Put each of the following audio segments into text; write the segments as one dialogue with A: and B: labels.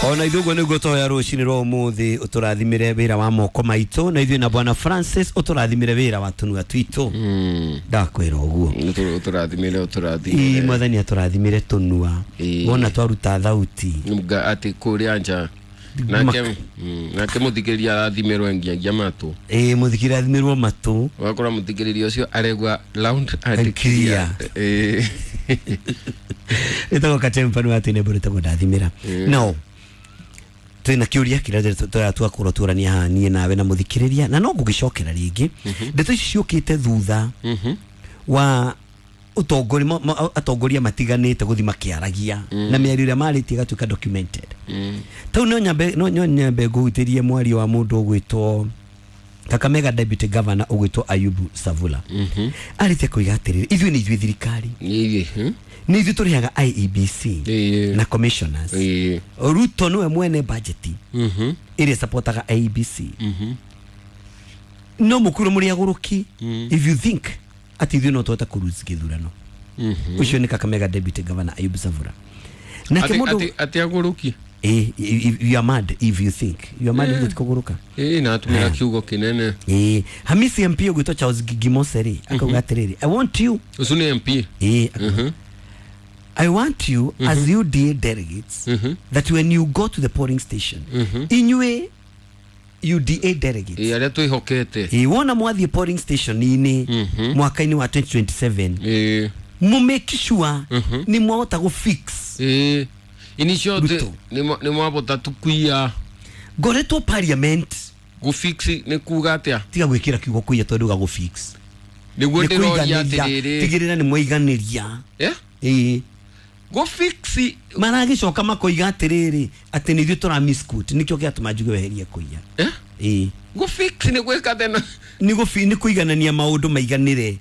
A: Ona ithuĩ ũguo nĩguo tũhoya rũcinĩ rwa ũmũthĩ, ũtũrathimĩre wĩra wa moko maitũ, na ithuĩ na Bwana Francis ũtũrathimĩre wĩra wa tũnua twitũ. Ndakwĩra ũguo.
B: Ũtũrathimĩre.
A: Ii,
B: Ũtũrathimĩre.
A: Mwathani atũrathimĩre tũnua. Wona twaruta thauti.
B: Atĩ kũrĩa nja nake nake mũthikĩrĩria arathimĩrwo ngiagia matũ.
A: Ĩĩ, mũthikĩrĩria athimĩrwo matũ.
B: Ũgakora mũthikĩrĩria ũcio aregua loud and
A: And clear.
B: Ĩĩ.
A: Ĩtagwo Katempa nĩ watĩ nembo rĩtagwo ndathimĩra. No twĩna kĩũria kĩrĩa twakorwo tũrania haha niĩ nawe na mũthikĩrĩria, na no ngũgĩcokera rĩngĩ. Ndeto ici ciũkĩte thutha wa ũtongoria atongoria matiganĩte gũthiĩ makĩaragia na mĩario ĩrĩa marĩtie ĩgatuĩka documented. Tau no nyambe ngũhutĩrie mwario wa mũndũ ũgwĩtwo Kakamega Deputy Governor ũgwĩtwo Ayubu Savula. Arĩtie koiga atĩrĩrĩ, ithuĩ nĩ ithuĩ thirikari,
B: Ĩĩ,
A: nĩ ithuĩ tũrĩhaga IEBC na commissioners. Ruto nĩwe mwene budget ĩrĩa supportaga IEBC. No mũkwĩrwo mũrĩ agũrũki if you think atĩ ithuĩ no tũhote kũ-lose gĩthurano. Ũcio nĩ Kakamega Deputy Governor Ayub Savula. Nake mũndũ
B: Atĩ agũrũki?
A: Eh, you are mad if you think you are mad. If kũgũrũka.
B: Ĩĩ, na atũmĩra kiugo kĩnene.
A: Eh, Hamisi MP ũgwĩtwo Charles Gimose rĩ, akauga atĩrĩrĩ, "I want you."
B: Ũcio nĩ MP?
A: Eh, akauga, "I want you as UDA delegates that when you go to the polling station, inyuĩ UDA delegates,
B: Ĩĩ, arĩa twĩhokete.
A: Ĩ, wona mwathiĩ polling station-inĩ mwaka-inĩ wa 2027, mũ make sure nĩ mwahota gũ fix
B: Ĩĩ, in short,
A: Ruto.
B: nĩ mwabota tukuia.
A: Ngoretwo parliament.
B: Gũfix nĩ kuga atĩa?
A: Tiga gwĩkĩra kiugo kũiya tondũ ga gũ fix
B: Nĩguo
A: nĩ
B: ndĩroria.
A: kũiganĩria.
B: Atĩrĩrĩ.
A: Tigĩrĩra nĩ mwaiganĩria.
B: Eh?
A: Ĩĩ.
B: Gũfix.
A: Maragĩcoka makoiga atĩrĩrĩ, atĩ nĩ ithuĩ tũra misquote, nĩkĩo gĩatũma njuge weherie kũiya.
B: Eh?
A: Ĩĩ.
B: Gũfix nĩ gwĩka tena?
A: Nĩ kũiganania maũndũ maiganĩre.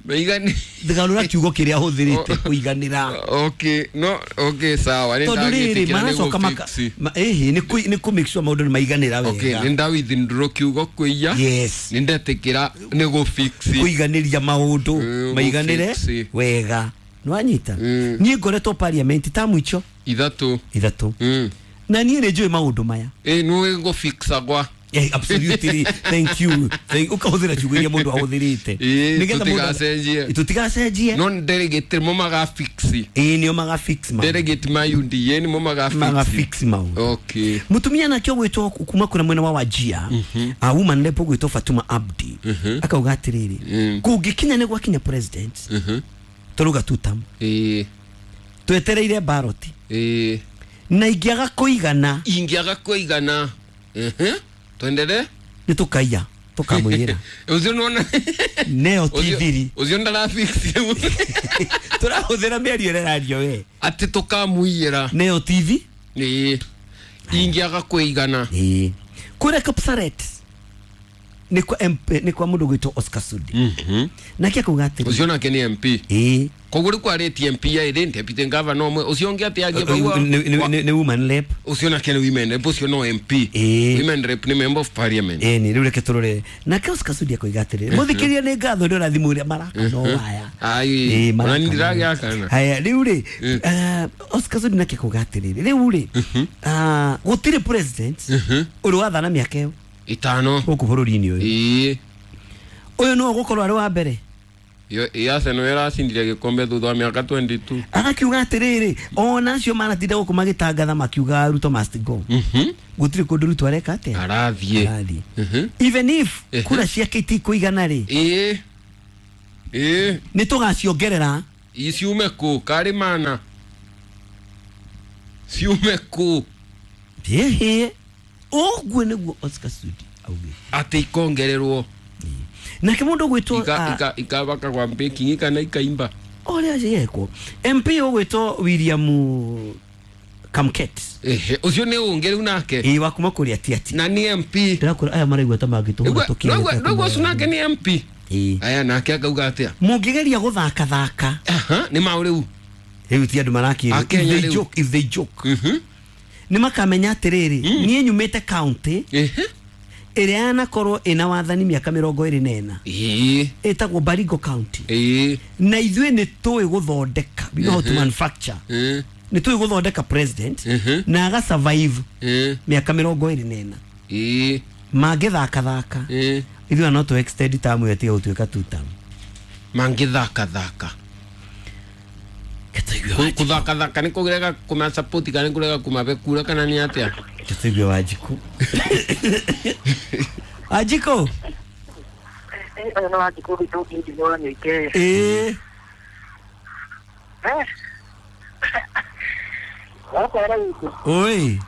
B: Maigani.
A: Garũra kiugo kĩrĩa ahũthĩrĩte, kũiganĩra.
B: Okay, no, okay, sawa, nĩ
A: Tondũ rĩrĩ,
B: ndagĩtĩkĩra nĩ
A: maracoka maka
B: gũfix.
A: ĩhĩ, nĩ kũ make sure maũndũ nĩ maiganĩra
B: Okay,
A: wega.
B: nĩ ndawithdraw kiugo kũiya. Nĩ ndetĩkĩra nĩ gũfix.
A: Kũiganĩria maũndũ maiganĩre
B: gũfix.
A: wega, nĩwanyita? Niĩ ngoretwo parliament tamu icio
B: 3.
A: 3, na niĩ nĩ njũĩ maũndũ maya.
B: Ĩ, nĩũĩ gũfixagwa.
A: Eh, absolutely, thank you. Ũkahũthĩra ciugo iria mũndũ ahũthĩrĩte. Nĩgetha
B: Tũtigacenjie.
A: Tũtigacenjie.
B: No delegate mo magafix.
A: Ĩĩ, nĩo magafix maũndũ.
B: Delegate ma UDA nĩmo magafix.
A: Magafix maũndũ. Mutumia nake ũgwĩtwo kuma kũrĩa mwena wa Wajia, a woman rep ũgwĩtwo Fatuma Abdi, akauga atĩrĩrĩ, kũngĩkinya nĩ gwakinya president tũrauga tutam, twetereire ballot, na ingĩaga kũigana,
B: Ingĩaga kũigana. Twendere.
A: Nĩ tũkaiya tũkamũiyĩra.
B: Ũcio nĩwona.
A: Neo ti thiri.
B: Ũcio ndarafix rĩu.
A: Tũrahũthĩra mĩario ĩrĩa ĩrario we.
B: Atĩ tũkamũiyĩra.
A: Neo TV.
B: Ĩĩ, ingĩaga kũigana.
A: Ĩĩ, kũrĩa Kapsaret nĩ kwa MP, nĩ kwa mũndũ ũgwĩtwo Oscar Sudi, nake akauga atĩrĩ,
B: Ũcio nake nĩ MP?
A: Ĩĩ.
B: Koguo rĩu kwarĩtie MP erĩ, deputy governor ũmwe, ũcio ũngĩ atĩ angĩ vau
A: Nĩ woman rep.
B: Ũcio nake nĩ women rep, ũcio no MP?
A: Ĩĩ.
B: Women rep nĩ member of parliament.
A: Ĩni, rĩu reke tũrore nake Oscar Sudi akoiga atĩrĩrĩ, mũthikĩria nĩ ngatho nĩ ũrathimũ ũrĩa maraka no waya.
B: Ai,
A: Ĩĩ,
B: ona
A: maraka
B: nĩ
A: no
B: ndĩragĩakana.
A: Haya, rĩu rĩ, Oscar Sudi nake akauga atĩrĩrĩ, rĩu rĩ, gũtirĩ president ũrĩ wathana mĩaka ĩyo
B: 5
A: gũkũ bũrũri-inĩ ũyũ. Ũyũ nĩwe ũgũkorwo arĩ wa mbere.
B: Ĩ, Arsenal ĩracindire gĩkombe thutha wa mĩaka 22.
A: Agakiuga atĩrĩrĩ, ona acio manatinda gũkũ magĩtangatha makiuga Ruto must go, gũtirĩ kũndũ Ruto areka atĩa?
B: Arathiĩ.
A: Arathiĩ. Even if kura ciake itikũigana rĩ,
B: Ĩĩ, ĩĩ.
A: Nĩ tũgaciongerera.
B: Ciume kũ? Karĩ mana ciume kũ?
A: Ĩhĩ, ũguo nĩguo Oscar Sudi augĩte.
B: Atĩ ikongererwo.
A: Nake mũndũ ũgwĩtwo
B: Ikabaka kwa baking kana ikaimba.
A: Ũrĩa yekwo MP ũgwĩtwo William Kamket.
B: Ehe, ũcio nĩ ũngĩ rĩu nake.
A: Ĩĩ, wa kuma kũrĩa Tiati.
B: Na nĩ MP?
A: Ndĩrakwĩra aya maraigua ta mangĩtũhũra tũkĩrĩte.
B: Noguo ũcio nake nĩ MP?
A: Ĩĩ.
B: Aya, nake akauga atĩa?
A: Mũngĩgeria gũthakathaka.
B: Aha, nĩ maũ rĩu?
A: Rĩu ti andũ marakĩrwo.
B: Akenya
A: If they
B: rĩu.
A: joke, if they joke, nĩ makamenya atĩrĩrĩ, niĩ nyumĩte county ĩrĩa yanakorwo ĩna wathani mĩaka 24, ĩtagwo Baringo County, na ithuĩ nĩ tũĩ gũthondeka, we know how to manufacture. Nĩ tũĩ gũthondeka president na aga survive mĩaka 24. Mangĩthakathaka ithuĩ no tũ extend term ĩyo ĩtige gũtuĩka two term.
B: Mangĩthakathaka kuthakathaka nĩ kũrega kũma support kana nĩ kũrega kũmabe kura kana nĩ atĩa?
A: Tũigue Wanjikũ. Wanjikũ.
C: Ũyũ nĩ Wanjikũ witũ injinia wa Nyoike. Wakwara witũ.
A: Oi.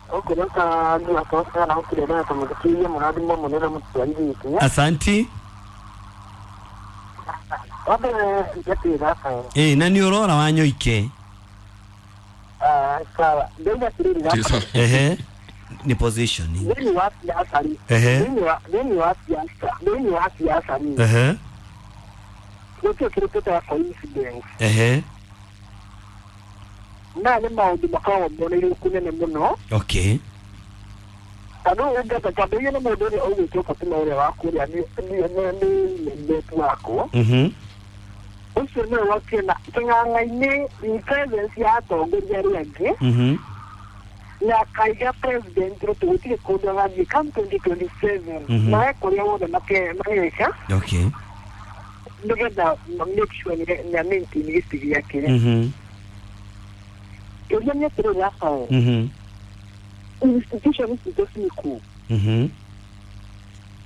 C: Ũkũreka nĩ atoka na ũkĩrera tũmũthikĩrie mũrathimo mũnene mũtwari witũ.
A: Asanti.
C: Wambere ngatĩra Rafael.
A: Na nĩ ũrora wa Nyoike.
C: Sawa. Ndauga atĩrĩrĩ Rafael.
A: Ehe. Ni position.
C: Thĩinĩ wa siasa rĩ. Thĩinĩ wa siasa, thĩinĩ wa siasa rĩ. Gũtirĩ kĩndũ kĩtagwo coincidence. Na nĩ maũndũ makoragwo moneire kũnene mũno.
A: Okay.
C: Tondũ ũngĩenda kwambĩrĩria nĩ mũndũ ũrĩa ũgwĩtwo Fatuma ũrĩa wa kũrĩa nĩ mũirĩtu wakwa. Ũcio nĩwe wokire na kĩng'ang'a-inĩ in presence ya atongoria arĩa angĩ. Na akaiga president Ruto gũtirĩ kũndũ agathiĩ come 2027. Na he kũrĩa wothe mageka.
A: Okay.
C: Nĩgetha make sure nĩ maintain gĩtĩ gĩake. Kĩũria nĩ atĩrĩrĩ Rafael. Institution citũ ciĩkuo.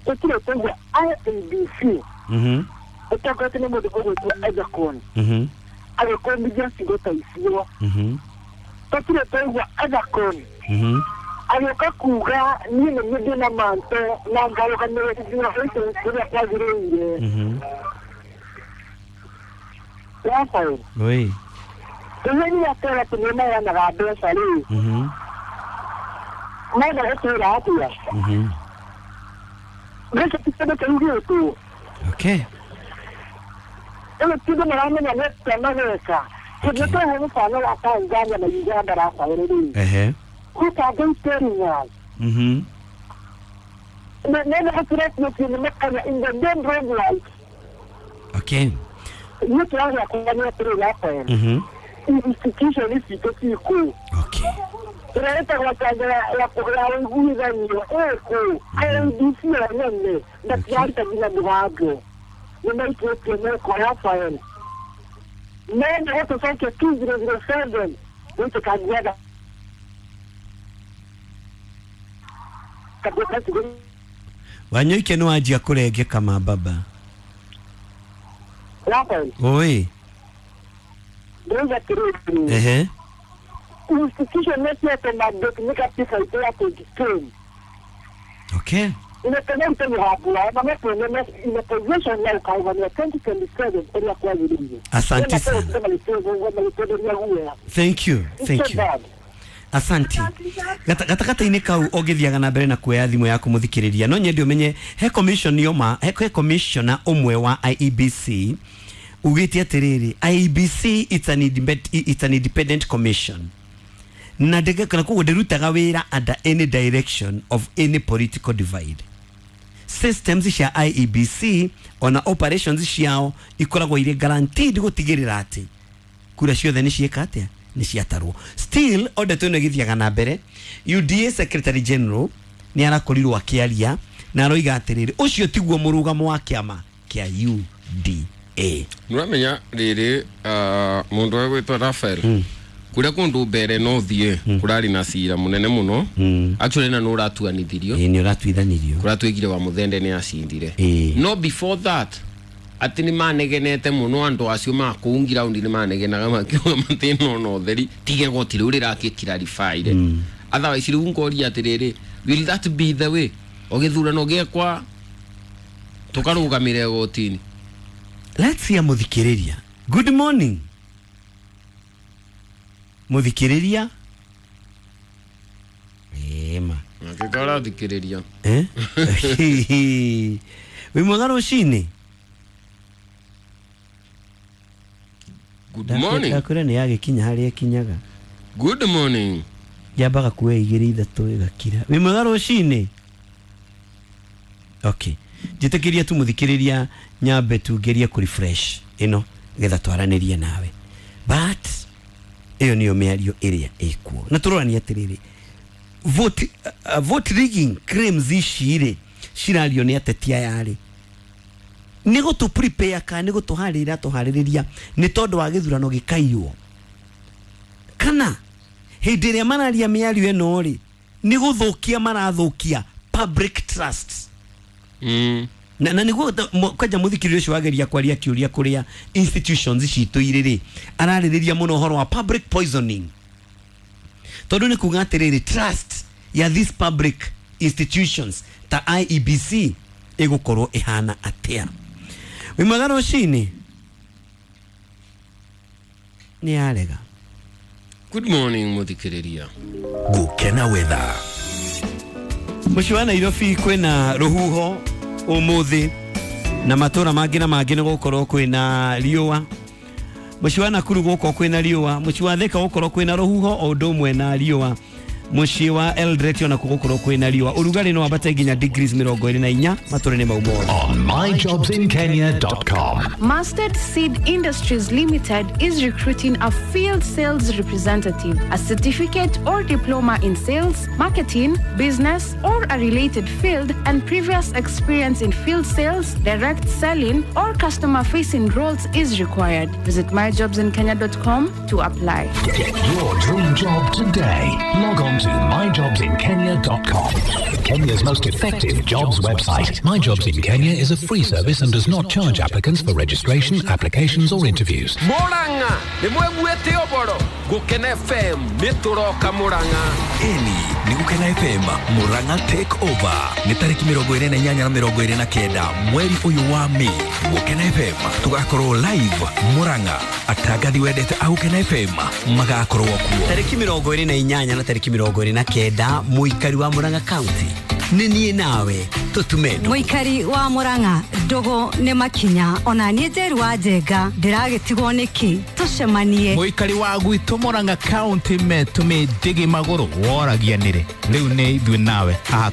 C: Gũtirĩ twaigua IEBC. Ũtongoretio nĩ mũndũ ũgwĩtwo Ethekon. Agĩkũmithia cigo ta icio. Tũtirĩ twaigua Ethekon. Agĩũka kuga niĩ nĩ niĩ ndĩna manto na ngarũgamĩrĩra ithurano icio ũrĩa kwagĩrĩire. Rafael.
A: Oi.
C: Rĩrĩa niĩ atwĩra atĩ nĩ maheanaga mbeca rĩ. Menda gũtwĩra atĩa? Mbeca ti kĩndũ kĩrugĩtwo.
A: Okay.
C: Rĩu ti ũndũ maramenya nĩ atĩa mageka. Tondũ twĩhe mũbano wa Tanzania na Uganda Rafael rĩ. Who can go telling us? Nenda gũtwĩra atĩ nĩ makanya in the main road light.
A: Okay.
C: Niĩ kĩraria kuga nĩ atĩrĩrĩ Rafael. Institution ici ciĩkuo.
A: Okay.
C: Ĩrĩa ĩtagwo chanjo ya ũiguithanio ĩkũ. IEBC yo nyene matiaruta nginya mũgambo. Nĩ maikĩtie meko Rafael. Menda gũtũcokia 2007 gũitũkangiaga.
A: Wanyoike nĩ wanjia kũrengeka mababa.
C: Rafael.
A: Oi.
C: Ndauga atĩrĩrĩ. Institution nĩciete mandate nĩ katiba itũ ya 2010.
A: Okay.
C: Inatengeneza mĩgambo yao na mekuona ina position ya ũkarũgamia 2027 ũrĩa kwagĩrĩire.
A: Asante sana. Thank you. Thank you. Asante. Gatagatĩ-inĩ kau ũngĩthiaga na mbere na kuoya thimũ yaku mũthikĩrĩria no nyende ũmenye he commission yoma he commissioner ũmwe wa IEBC ugĩte atĩrĩrĩ IEBC it's an independent commission na ndĩgekana koguo ndĩrutaga wĩra under any direction of any political divide. Systems cia IEBC ona operations ciao ikoragwo irĩ guaranteed gũtigĩrĩra atĩ kura ciothe nĩ ciĩka atĩa nĩ ciatarwo. Still o ndeto ĩno ĩgĩthiaga na mbere, UDA Secretary General nĩ arakorirwo akĩaria na aroiga atĩrĩrĩ ũcio tiguo mũrũgamo wa kĩama kĩa UDA.
B: Nĩũramenya rĩrĩ mũndũ ũgwĩtwo Rafael kuria kundu mbere no thie kurari na cira munene muno. Actually na no uratuanithirio.
A: Ni uratuithanirio.
B: Kuratuigire wa muthende ni acindire. No before that ati ni manegenete muno andu acio ma kuu ground ni manegenaga makiuga mathina no theri tige goti riu riraki clarify. Otherwise riu ngoria atiriri, will that be the way ogithurano giekwa tukarugamire gotini?
A: Let's hear muthikiriria. Good morning muthikiriria. Ema
B: ngikora thikiriria
A: wi mwega rucini.
B: Good morning.
A: Ndakure ni yagikinya haria ikinyaga.
B: Good morning.
A: Yambaga kuoya igiri ithatu igakira. Wi mwega rucini. Okay, njitikiria tu muthikiriria nyambe tungerie ku refresh ino getha twaranirie nawe, but Ĩyo nĩyo mĩario ĩrĩa ĩkuo na tũrorania atĩrĩrĩ, vote rigging claims ici rĩ cirario nĩ ateti aya rĩ, nĩ gũtũ prepare kana nĩ gũtũharĩrĩria tũharĩrĩria nĩ tondũ wa gĩthurano gĩkaiywo, kana hĩndĩ ĩrĩa mararia mĩario ĩno rĩ nĩ gũthũkia marathũkia public trust? Na nĩguo kwanja mũthikĩrĩria ũcio wageria kwaria kĩũria kũrĩa institutions citũ irĩ rĩ, ararĩrĩria mũno ũhoro wa public poisoning, tondũ nĩ kuga atĩrĩrĩ, trust ya these public institutions ta IEBC ĩgũkorwo ĩhana atĩa? Wĩ mwega rũcinĩ? Nĩ yarega.
B: Good morning, muthikiriria.
D: Gukena weather.
A: Mũciĩ wa Nairobi kwĩna rũhuho ũmũthĩ, na matũra mangĩ na mangĩ nĩ gũkorwo kwĩna riũa. Mũciĩ wa Nakuru gũkorwo kwĩna riũa, mũciĩ wa Thika gũkorwo kwĩna rũhuho o ũndũ ũmwe na riũa, mũciĩ wa Eldoret ona gũkorwo kwĩna riũa. Ũrugarĩ no wambate nginya degrees 24 matũra-inĩ mau mothe.
D: On myjobsinkenya.com.
E: Mustard Seed Industries Limited is recruiting a field sales representative, a certificate or diploma in sales, marketing, business, or a related field, and previous experience in field sales, direct selling, or customer facing roles is required. Visit myjobsinkenya.com to apply.
D: Get your dream job today. Log on to myjobsinkenya.com. Kenya's most effective jobs website. My Jobs in Kenya is a free service and does not charge applicants for registration, applications, or interviews.
B: Murang'a nĩ mweguĩte ũboro Gũkena FM nĩ tũroka Murang'a.
D: Eni nĩ Gũkena FM Murang'a Take Over nĩ tarĩki 28 na 29 mweri ũyũ wa Mĩ. Gũkena FM tũgakorwo live Murang'a. Atangathi wendete a Gũkena FM magakorwo kuo.
A: Tarĩki 28 na tarĩki 29, mũikari wa Murang'a County, nĩ niĩ nawe tũtume ndũgũ.
F: Mũikari wa Murang'a, ndũgũ nĩ makinya, ona niĩ Njeru wa Njenga ndĩragĩtigwo nĩkĩ, tũcemanie.
G: Mũikari wa gwitũ Murang'a County metũmĩ ndĩgĩ magũrũ woragia nĩrĩ rĩu nĩ ithuĩ nawe haha.